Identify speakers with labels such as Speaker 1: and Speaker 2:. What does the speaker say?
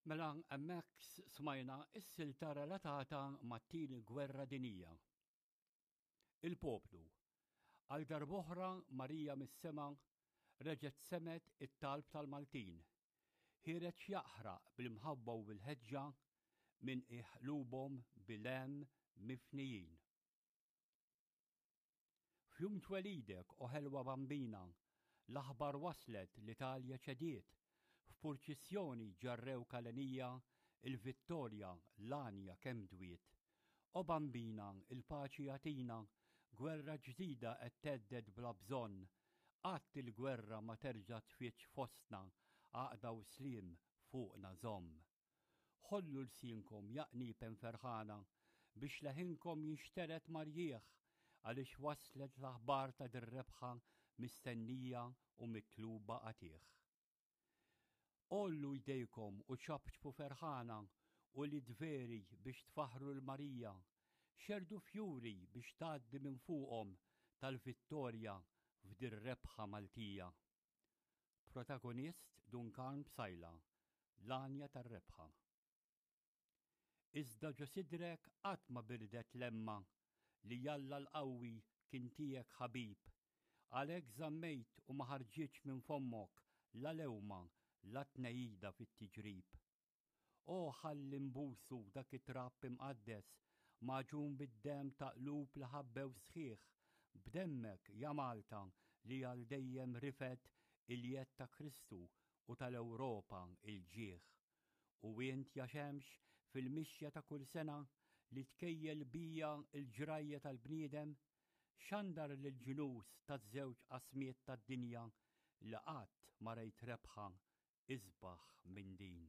Speaker 1: Mela hemmhekk smajna s-silta relatata mat-Tieni Gwerra Dinjija. Il-poplu. Għal darb'oħra Marija mis-sema reġgħet semgħet it-talb tal-Maltin. Ħiereġ jaqħraq bl-imħabba u bil-ħeġġa minn qiegħ qlubhom bil-hemm mifnijin. F'jum twelidek, o ħelwa Bambina, l-aħbar waslet l-Italja ċediet, f'purċissjoni ġarrewk għalenija il-vittorja l-għanja kemm dwiet. O Bambina, il-paċi agħtina, gwerra ġdida qed thedded bla bżonn, qatt il-gwerra ma terġa' tfiġġ fostna, għaqda u sliem fuqna żomm. Ħollu lsienkom ja qniepen ferħana biex leħinkom jinxtered mar-rjieħ għaliex waslet l-aħbar ta' dir-rebħa mistennija u mitluba qatigħ. Għollu jdejkom u ċapċpu ferħana ulied veri biex tfaħħru 'l Marija, xerrdu fjuri biex tgħaddi minn fuqhom tal-vittorja f'dir-rebħa Maltija. Protagonist Dun Karm Psaila, L-għanja tar-rebħa. Iżda ġo sidrek qatt ma birdet lemma li Alla l-qawwi kien tiegħek ħabib. Għalhekk żammejt u ma ħarġitx minn fommok la lewma la tnehida fit-tiġrib. O ħalli nbusu dak it-trab imqaddes, magħġun bid-demm ta' qlub li ħabbew sħiħ, b'demmek, ja Malta, li għal dejjem rifed il-jedd ta' Kristu u tal-Ewropa l-ġieħ. U int, ja xemx, fil-mixja ta' kull sena, li tkejjel bija l-ġrajja tal-bniedem, xandar lill-ġnus taż-żewġ qasmiet tad-dinja li qatt ma rejt rebħa isbaħ minn din.